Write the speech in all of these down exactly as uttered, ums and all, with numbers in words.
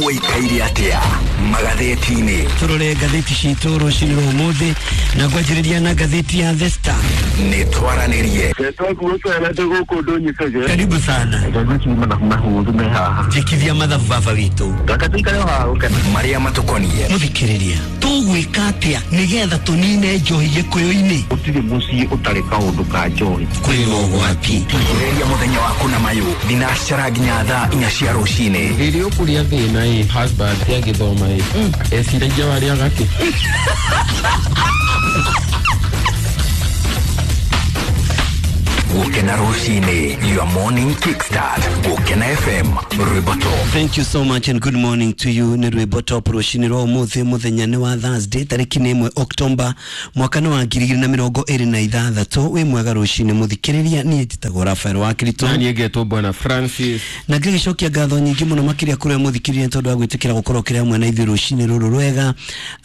Waikaire atia magatheti-inĩ? Turore ngatheti citũ rũcinĩ rwa ũmũthĩ na ngwanjĩrĩria na ngatheti ya The Star. Nĩ twaranĩrie. Karibu sana. Njĩkithia mathabu baba witũ. Marĩa matũkoniĩ. Mũthikĩrĩria, tũgwĩka atĩa nĩgetha tũnine njohi gĩkũyũ-inĩ? Gũtirĩ mũciĩ ũtarĩ kaũndũ ka njohi. Kwĩna ũgwati. Ambĩrĩria mũthenya waku na mayũ thinacara nginya thaa inya cia rũcinĩ. Rĩrĩa ũkũrĩa thĩna ĩ husband agĩthoma ĩ eciragia warĩaga kĩ? Gũkena rũcinĩ, your morning kickstart. Gũkena F M, rwĩmbo top. Thank you so much and good morning to you. Nĩ rwĩmbo top rũcinĩ rwa ũmũthĩ, mũthenya nĩ wa Thursday tarĩki nĩ ĩmwe October mwaka nĩ wa ngiri igĩrĩ na mĩrongo ĩrĩ na ithathatũ. Wĩ mwega rũcinĩ mũthikĩrĩria, niĩ njĩtagwo Raphael wa Kirito. Na niĩ ngetwo Bwana Francis. Na ngĩgĩcokia ngatho nyingĩ mũno makĩria kũrĩ mũthikĩrĩria tondũ wa gwĩtĩkĩra gũkorwo kĩrĩ hamwe na ithuĩ rũcinĩ rũrũ rwega.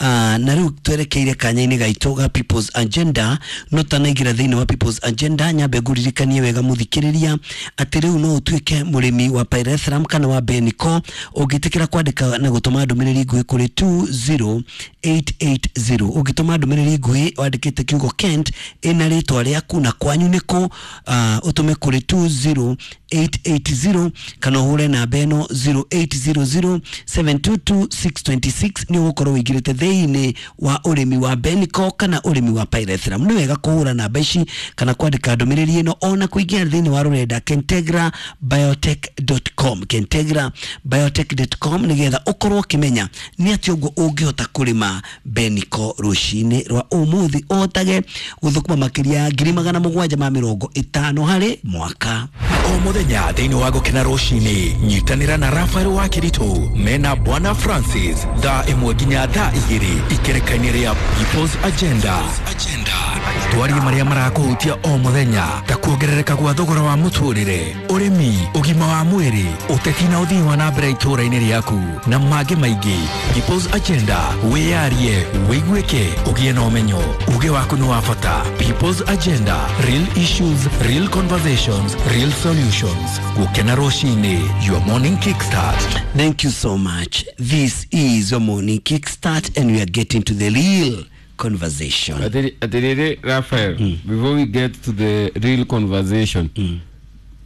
Uh, na rĩu twerekeire kanya-inĩ gaitũ ga People's Agenda. No tanaingĩra thĩinĩ wa People's Agenda, nyambe ngũririkanie wega mũthikĩrĩria atĩ rĩu no ũtuĩke mũrĩmi wa pyrethrum kana wa Beniko ũngĩtĩkĩra kwandĩka na gũtũma ndũmĩrĩri nguhĩ kũrĩ two zero eight eight zero. Ũngĩtũma ndũmĩrĩri nguhĩ wandĩkĩte kiugo Kent ĩna rĩtwa rĩaku na kwanyu nĩkũ, uh, ũtũme kũrĩ two zero eight eight zero kana ũhũre namba ĩno zero eight zero zero seven two two six two six nĩ ũgũkorwo ũingĩrĩte thĩinĩ wa ũrĩmi wa Beniko kana ũrĩmi wa pyrethrum. Nĩ wega kũhũra namba ici kana kwandĩka ndũmĩrĩri ĩno ona kũingĩra thĩinĩ wa rũrenda kentegra biotech dot com, kentegra biotech dot com nĩgetha ũkorwo ũkĩmenya nĩ atĩa ũguo ũngĩhota kũrĩma Beniko rũcinĩ rwa ũmũthĩ ũhotage gũthũkũma makĩria ngiri magana mũgwanja ma mĩrongo ĩtano harĩ mwaka. O mũthenya thĩinĩ wa Gũkena rũcinĩ, nyitanĩra na Raphael wa Kirito mena Bwana Francis thaa ĩmwe nginya thaa igĩrĩ ikereka-inĩ rĩa People's Agenda. Twarie marĩa marakũhutia o mũthenya ta kuongerereka gwa thogora wa mũtũrĩre, ũrĩmi, ũgima wa mwĩrĩ, ũteti na ũthii wa na mbere itũũra-inĩ rĩaku na mangĩ maingĩ. People's Agenda, wĩyarie, wĩiguĩke, ũgĩe na ũmenyo. Uge waku nĩ wa bata. People's Agenda, real issues, real conversations, real solutions. Gũkena rũcinĩ, your morning kickstart. Thank you so much. This is your morning kickstart and we are getting to the real conversation. Atiriri Raphael, mm. before we get to the real conversation, mm.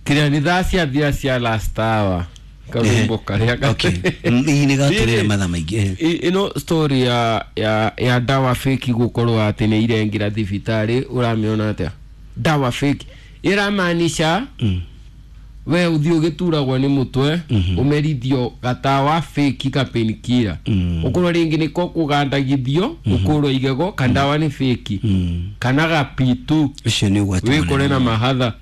kira ni thaa ciathira cia last hour karwimbo karia. Okay. Ii nĩ gatũrĩre mathaa maingĩ. Ĩno story ya ya ya dawa fake gũkorwo atĩ nĩ irengĩra thibitarĩ, ũramĩona atĩa? Dawa fake ĩramaanisha mm. we uthi ũgĩturagwo nĩ mũtwe ũmerithio gatawa fake ka painkiller ũkorwo rĩngĩ nĩko kũgandagithio ũkũrwo igego kandawa nĩ fake kana ga P two ũcio nĩ ũgwati wĩkore na mahatha.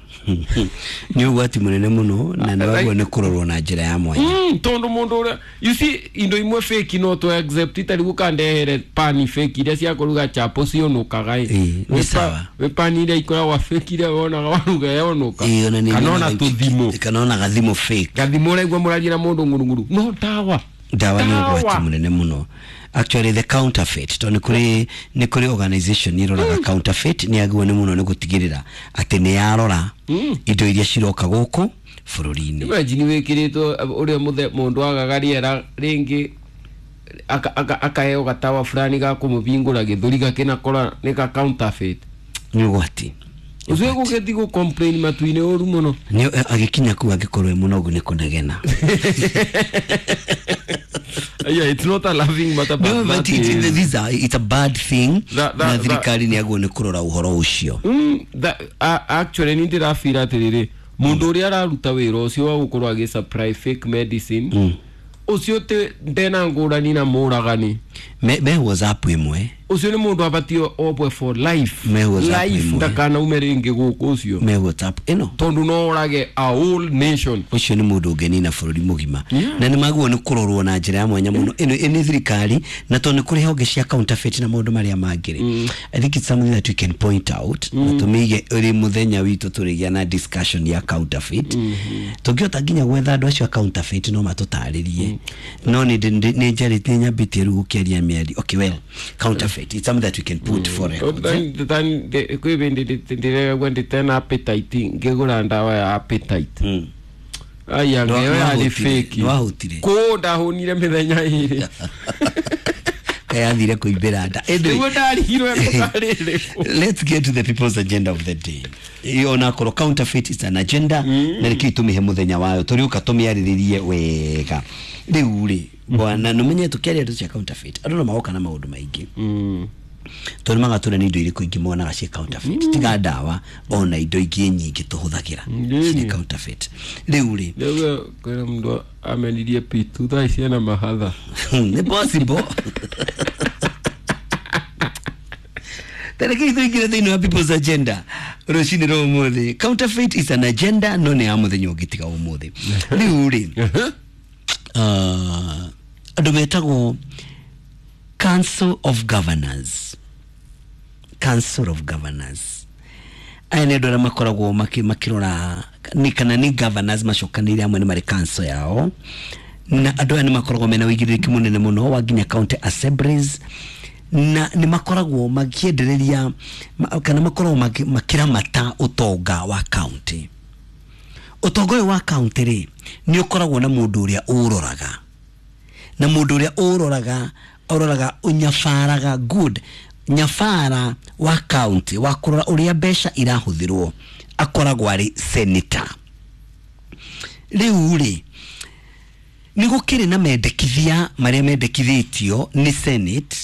Nĩ ũgwati mũnene mũno na nĩ wagwo nĩ kũrorwo na njĩra ya mwanya tondũ mũndũ ũrĩa you see indo imwe fake no to accept itari gũkandehere pani fake iria cia kũruga chapo cionũkaga ĩ nĩ sawa wĩ pani iria ikoragwo fake iria wonaga waruga yonuka kana ona tũthimo kana ona gathimo fake gathimo ũraigua mũraria na mũndũ ng'urung'uru no ndawa ndawa nĩ ũgwati mũnene mũno. Actually the counterfeit to nĩ kũrĩ nĩ kũrĩ organization iroraga mm. counterfeit nĩ agwo nĩ mũno nĩ gũtigĩrĩra atĩ nĩ yarora mm. indo iria ciroka gũkũ bũrũri-inĩ. Imagine wĩkĩrĩtwo ũrĩa mũthe mũndũ agaga rĩera rĩngĩ akaheo gatawa fulani ga kũmũbingũra gĩthũri gakĩnakora nĩ ka counterfeit. Nĩ ũgwati ũcio gũgĩthiĩ gũ complain matu-inĩ ũru mũno nĩ agĩkinya kũu angĩkorwo e mũnogu nĩ kũnegena. Yeah, it's not a laughing matter, but, no, but it, is, it, a, it's a bad thing. That, that, na thirikari nĩ agwo nĩ kũrora ũhoro ũcio. Mm, that, uh, actually nĩ ndĩrabira atĩrĩrĩ mũndũ ũrĩa araruta wĩra ũcio wa gũkorwo agĩ supply fake medicine mm. ũcio ndena ngũrani na mũragani me, me WhatsApp ĩmwe ũcio nĩ mũndũ abatio obwe for life me WhatsApp life ndakanaume rĩngĩ gũkũ ũcio me WhatsApp ĩno tondũ no ũrage a whole nation ũcio nĩ mũndũ ũngĩnina bũrũri mũgima na nĩ magwo nĩ kũrorwo na njĩra ya mwanya mũno ĩno nĩ thirikari na tondũ nĩ kũrĩ honge cia counterfeit na maũndũ marĩa mangĩ rĩ I think it's something that we can point out na tũmĩige ũrĩ mũthenya witũ tũrĩgĩa na discussion ya counterfeit tũngĩhota nginya gwetha andũ acio a counterfeit no matũtarĩrie no nĩ nĩ njarĩtie nyambĩtie rĩu gũkĩaria mĩario. Okay, well, counterfeit it's something that we can put mm. for records. Then the appetite ngegura ndawa ya appetite. Mm. Aya ngeyo yarĩ fake. Nĩwahũtire. Kũ ndahũnire mĩthenya ĩrĩ. Kayathire kũimbĩra nda. Anyway, Nĩguo ndarigirwo ĩrĩkũ. Let's get to the people's agenda of the day. Iyo onakorwo counterfeit is an agenda, na nĩkĩo tũmĩhe mũthenya wayo tũrĩũka tũmĩarĩrĩrie wega. Rĩu rĩ bwana, nĩũmenye tũkĩaria ndeto cia counterfeit andũ no magoka na maũndũ maingĩ, tondũ magatũra nĩ indo irĩkũ ingĩ monaga ciĩ counterfeit, tiga ndawa, ona indo ingĩ nyingĩ tũhũthagĩra cirĩ counterfeit. Rĩu rĩ, Rĩu kwĩna mũndũ amenirie pitu thaa ici ena mahatha. Nĩ possible. Tareke tũingĩre thĩinĩ wa people's agenda rũcinĩ rwa ũmũthĩ. Counterfeit is an agenda, no nĩ ya mũthenya ũngĩ tiga ũmũthĩ. Rĩu rĩ, uh, andũ metagwo Council of Governors, Council of Governors, aya nĩ andũ arĩa makoragwo maki- makĩrora nĩ kana nĩ governors macokanĩrĩire hamwe, nĩ marĩ council yao, na andũ aya nĩ makoragwo mena ũigĩrĩrĩki mũnene mũno wa nginya county assemblies, na nĩ makoragwo makĩendereria ma- kana makoragwo maki- makĩramata ũtonga wa county. Ũtonga ũyũ wa county rĩ, nĩ ũkoragwo na mũndũ ũrĩa ũroraga, na mũndũ ũrĩa ũroraga ũroraga ũnyabaraga good nyabara wa county wa kũrora ũrĩa mbeca irahũthĩrwo akoragwo arĩ senator. Rĩu rĩ, nĩ gũkĩrĩ na mendekithia marĩa mendekithĩtio nĩ Senate,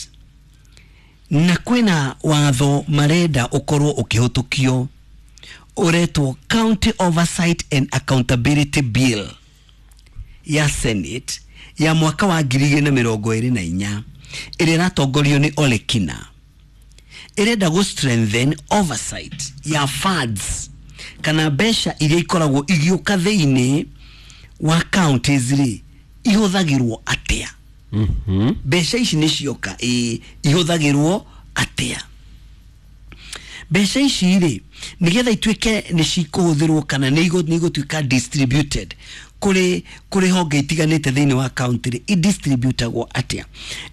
na kwĩna watho marenda ũkorwo ũkĩhũtũkio ũretwo County Oversight and Accountability Bill ya Senate ya mwaka wa ngiri igĩrĩ na mĩrongo ĩrĩ na inya, ĩrĩa ĩratongorio nĩ Ole Kina. Ĩrenda gũ strengthen oversight ya funds kana mbeca iria ikoragwo igĩũka thĩinĩ wa counties rĩ, ihũthagĩrwo atĩa. Mbeca ici nĩ cioka, ĩ ihũthagĩrwo atĩa mbeca ici rĩ, nĩgetha ituĩke nĩ cikũhũthĩrwo kana nĩ igũ- nĩ igũtuĩka distributed kũrĩ kũrĩ honge itiganĩte thĩinĩ wa county rĩ, idistributagwo atĩa.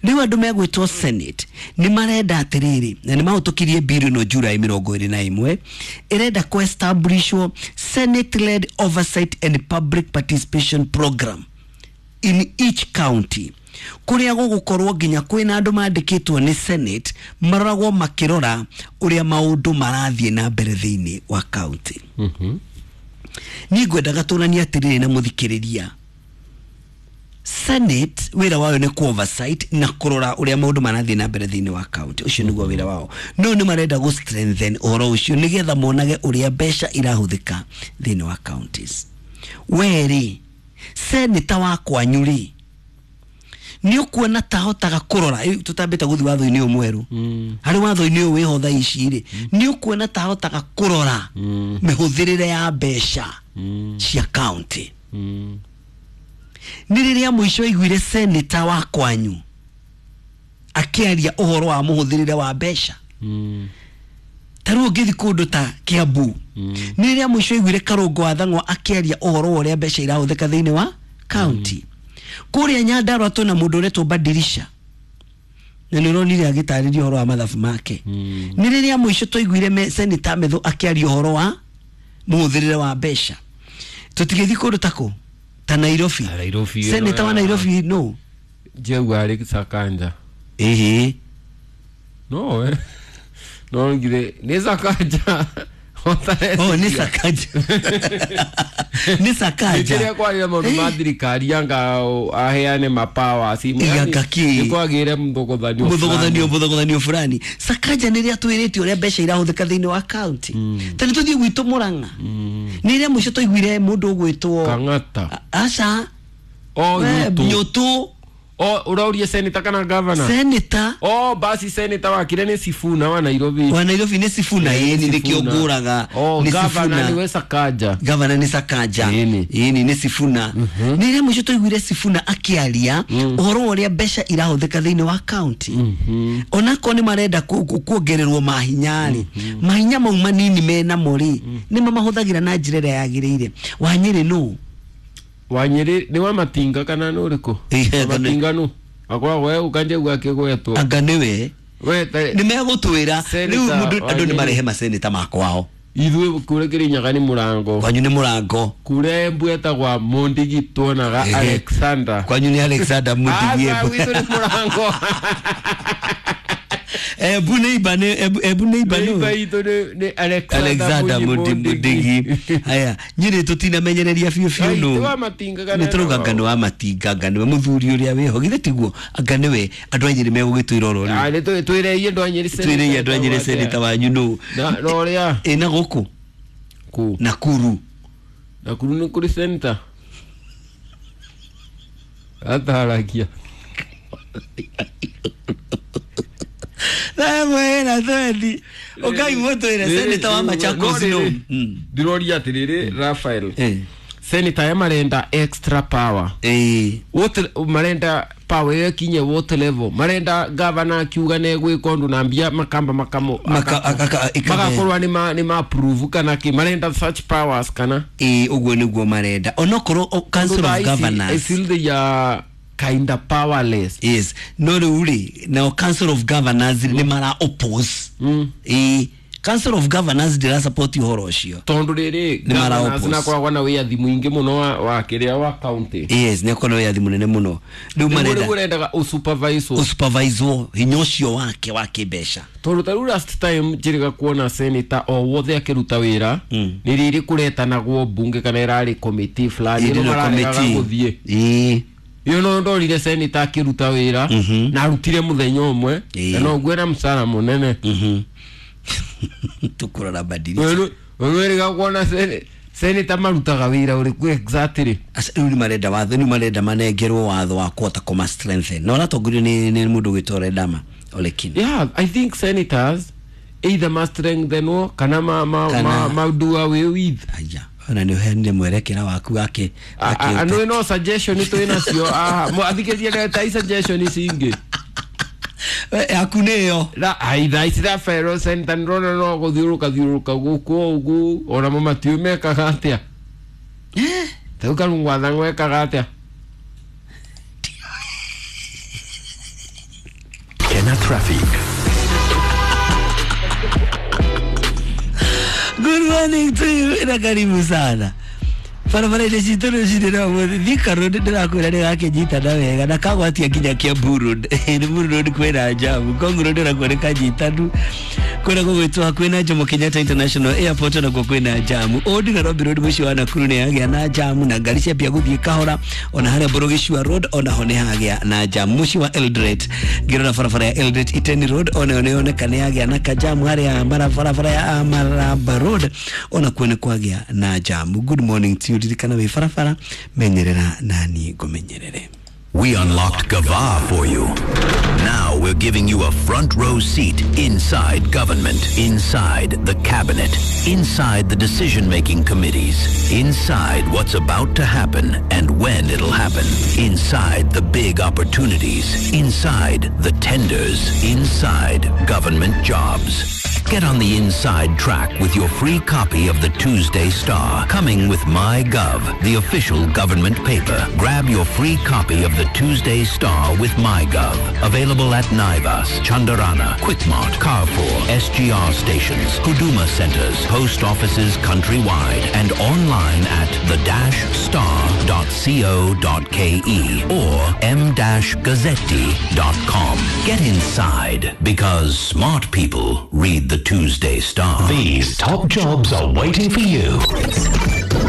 Rĩu andũ megwĩtwo Senate nĩ marenda atĩrĩrĩ, na nĩ mahũtũkirie bill ĩno July mĩrongo ĩrĩ na ĩmwe, ĩrenda kũ establishwo Senate led oversight and public participation program in each county, kũrĩa gũgũkorwo nginya kwĩna andũ mandĩkĩtwo nĩ Senate maroragwo makĩrora ũrĩa maũndũ marathiĩ na mbere thĩinĩ wa county. Niĩ ngwendaga tũranie atĩrĩrĩ na mũthikĩrĩria, Senate wĩra wayo nĩ ku oversight na kũrora ũrĩa maũndũ marathiĩ na mbere thĩinĩ wa county. Ũcio nĩguo wĩra wao, no nĩ marenda gũ strengthen ũhoro ũcio nĩgetha monage ũrĩa mbeca irahũthĩka thĩinĩ wa counties. We rĩ, senator wa kwanyu rĩ, nĩ ũkuona tahotaga kũrora, ĩ, tũtambĩte gũthiĩ watho-inĩ ũyũ mwerũ, harĩ watho-inĩ ũyũ wĩho thaa ici rĩ, nĩ ũkuona tahotaga kũrora mĩhũthĩrĩre ya mbeca cia county? Nĩ rĩrĩa mũico aiguire senator wa kwanyu akĩaria ũhoro wa mũhũthĩrĩre wa mbeca? Ta rĩu ũngĩthiĩ kũndũ ta Kiambu, nĩ rĩrĩa mũico aiguire Karũngo wa Thang'wa akĩaria ũhoro wa ũrĩa mbeca irahũthĩka thĩinĩ wa county? Kũrĩa Nyandarua twĩna mũndũ ũretwo Badirisha, na nĩ ũronire agĩtarĩria ũhoro wa mathabu make. Nĩ rĩrĩa mũico twaiguire me- senator Methu akĩaria ũhoro wa mũhũthĩrĩre wa mbeca? Tũtigĩthiĩ kũndũ ta kũ ta Nairobi. Nairobi. Senator wa Nairobi no Jeu arĩ Sakanja. Ĩhĩ. No eh no ngire nĩ Sakanja. Oh, nĩ Sakaja, nĩ Sakaja. Kĩrĩa kwarĩra maũndũ ma thirikari anga aheane mapawa Anga kĩ? nĩ kwagĩre mũthogothanio. Mũthogothanio, mũthogothanio fulani. Sakaja nĩ rĩrĩa twĩrĩte ũrĩa mbeca irahũthĩka thĩinĩ wa county? Ta nĩ tũthiĩ gwitũ Mũrang'a, nĩ rĩrĩa mũico twaiguire mũndũ ũgwĩtwo Kang'ata? Aca. O We, Nyũtũ. Nyũtũ. O ũraurie senator kana governor? Senator. O basi senator wakire nĩ Sifuna wa Nairobi. Wa Nairobi nĩ Sifuna, ĩni nĩkĩo ngũraga. O nĩ governor Sifuna. nĩwe Sakaja. Gavana nĩ Sakaja. Ĩni. Ĩni, nĩ Sifuna. Nĩ rĩrĩa mũico twaiguire Sifuna akĩaria ũhoro wa ũrĩa mbeca irahũthĩka thĩinĩ wa county? Onakorwo nĩ marenda ku- ku- kuongererwo mahinya rĩ, mahinya mau manini menamo rĩ, nĩ mamahũthagĩra na njĩra ĩrĩa yagĩrĩire? Wanyĩrĩ nũ? Wanyĩrĩ nĩ wa Matinga kana nĩ ũrĩkũ? Ĩĩ, Wa Matinga nũ akoragwo we ũkanjegua akĩgwetwo Anga nĩwe we ta nĩ megũtwĩra rĩu Senator mũndũ andũ nĩ Wanyĩrĩ. marehe maseneta makwao. Ithuĩ kũrĩa Kĩrĩnyaga nĩ mũrango. Kwanyu nĩ mũrango. Kũrĩa Embu etagwa Mundigi tuonaga Alexander. Kwanyu nĩ Alexander Mundigi Embu. Gwitũ nĩ mũrango. Embu nĩ iba nĩ Embu nĩ iba nĩ. Iba itũ nĩ Alexander Mundigi. Haya, Nyĩrĩ tũtinamenyereria biũ biũ nũ. Nĩ tũrauga anga nĩ wa Matinga, anga nĩwe mũthuri ũrĩa wĩho. Githĩ tiguo anga nĩwe andũ a Nyĩrĩ megũgĩtwĩra oro rĩu. Ah, nĩ twĩreie andũ a Nyĩrĩ senator. Twĩreie andũ a Nyĩrĩ senator wanyu nũ. Na na ũrĩa. Ĩ na gũkũ? Kũ? Nakuru. Nakuru nĩ kũrĩ senator. Ataragia. Thaa twendi ukai mutwire senator wa Machakos no ndiroria atiriri Raphael senator ya marenda extra power eh what marenda power yo kinye what level marenda governor akiuga ne gwika undu na mbia makamba makamo magakorwa ni ma ni ma approve kana ki marenda such powers kana eh uguo niguo marenda onokorwo council of governors I feel they are kinda powerless. Yes. No rĩu now Council of Governors nĩ mara oppose. Mm. Eh Council of Governors ndira support ũhoro ũcio. Tondu rĩrĩ nĩ mara oppose. Na koragwo na wĩyathi mũingĩ mũno wa, wa kĩrĩa wa county. Yes, nĩ akoragwo na wĩyathi mũnene mũno. Rĩu marenda ũrendaga ũsupervise. Ũsupervise hinya ũcio wake wa kĩmbeca. Tondu ta rĩu last time njĩrĩga kuona senator o wothe akĩruta wĩra mm. nĩ rĩrĩ kũretanagwo mbunge kana ĩrarĩ committee fulani ĩno mararegaga gũthiĩ. Ĩĩ. Yo no ndorire senator akiruta wira na arutire muthenya umwe na no ngwena msara munene tukurora badirisha wewe kuona senator marutaga wira uriku exactly asa riu ni marenda watho ni marenda manengerwo watho wa kuhota kuma strengthen na ũratongorio ni ni mundu gwitwo Ledama Olekina. Yeah, I think senators either must strengthen or kana ma ma ma, ma do away with. Aya ona nĩ ũheanire mwerekera waku wake anu no suggestion itu inacio ah athikĩria ta suggestion ici ingĩ yaku nĩyo la aitha ici tha fellow senator ndĩrona no gũthiũrũka thiũrũka gũkũ ũguo ona mo matiũĩ mekaga atĩa ta Karungu wa Thang'wa ekaga atĩa. Kena traffic. Good morning to you na karibu sana. Barabara ile citũ rũcinĩ rwa ũmũthĩ Thika Road ndĩrakwĩra nĩ gakĩnyitana wega na kagwatia nginya Kiambu Road. Limuru Road kwĩna jamu, Ngong Road nakuo nĩ kanyitanu. Kwĩna gũgwĩtwo hakuhĩ na Jomo Kenyatta International Airport nakuo kwĩna jamu. Old Nairobi Road mũciĩ wa Nakuru nĩ yagĩa na jamu na ngari ciambia gũthiĩ kahora. Ona harĩa Borogicua Road onaho nĩ hagĩa na jamu. Mũciĩ wa Eldoret ngĩrora barabara ya Eldoret Iten Road onayo nĩ yoneka nĩ yagĩa na kajamu harĩa barabara ya Maraba Road onakuo nĩ kwagĩa na jamu. Good morning to you. Ririkana wĩ barabara menyerera nani ngũmenyerere. We unlocked Gava for you. Now we're giving you a front row seat inside government, inside the cabinet, inside the decision-making committees, inside what's about to happen and when it'll happen, inside the big opportunities, inside the tenders, inside government jobs. Get on the inside track with your free copy of the Tuesday Star, coming with MyGov, the official government paper. Grab your free copy of the Tuesday Star with MyGov. Available at Naivas, Chandarana, Quickmart, Carrefour, S G R stations, Huduma centers, post offices countrywide, and online at the dash star dot co dot ke or m dash gazzetti dot com. Get inside, because smart people read the Tuesday Star. These top jobs are waiting for you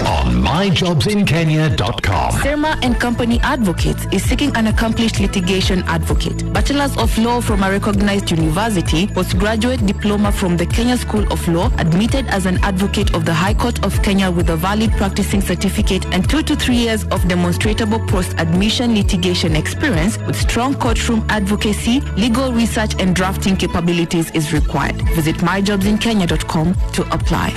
on my jobs in kenya dot com. Serma and Company Advocates is seeking an accomplished litigation advocate. Bachelor's of Law from a recognized university, postgraduate diploma from the Kenya School of Law, admitted as an advocate of the High Court of Kenya with a valid practicing certificate and two to three years of demonstrable post-admission litigation experience with strong courtroom advocacy, legal research and drafting capabilities is required. Visit my jobs in kenya dot com to apply.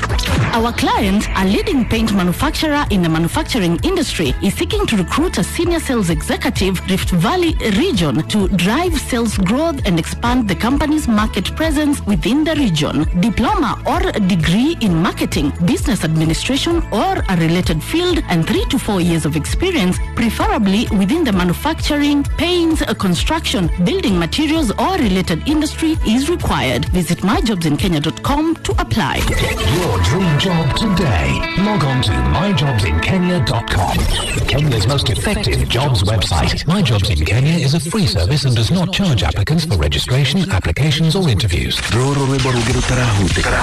Our client, a leading paint manufacturer in the manufacturing industry, is seeking to recruit a senior sales executive, Rift Valley region, to drive sales growth and expand the company's market presence within the region. Diploma or degree in marketing, business administration, or a related field, and three to four years of experience, preferably within the manufacturing, paints, construction, building materials, or related industry is required. Visit my jobs in kenya dot com to apply. Get your dream job today. Log on to my jobs in kenya dot com. Kenya's most effective jobs website. My Jobs in Kenya is a free service and does not charge applicants for registration, applications or interviews. Rũrũ rwĩmbo rũngĩ rũtarahutĩka.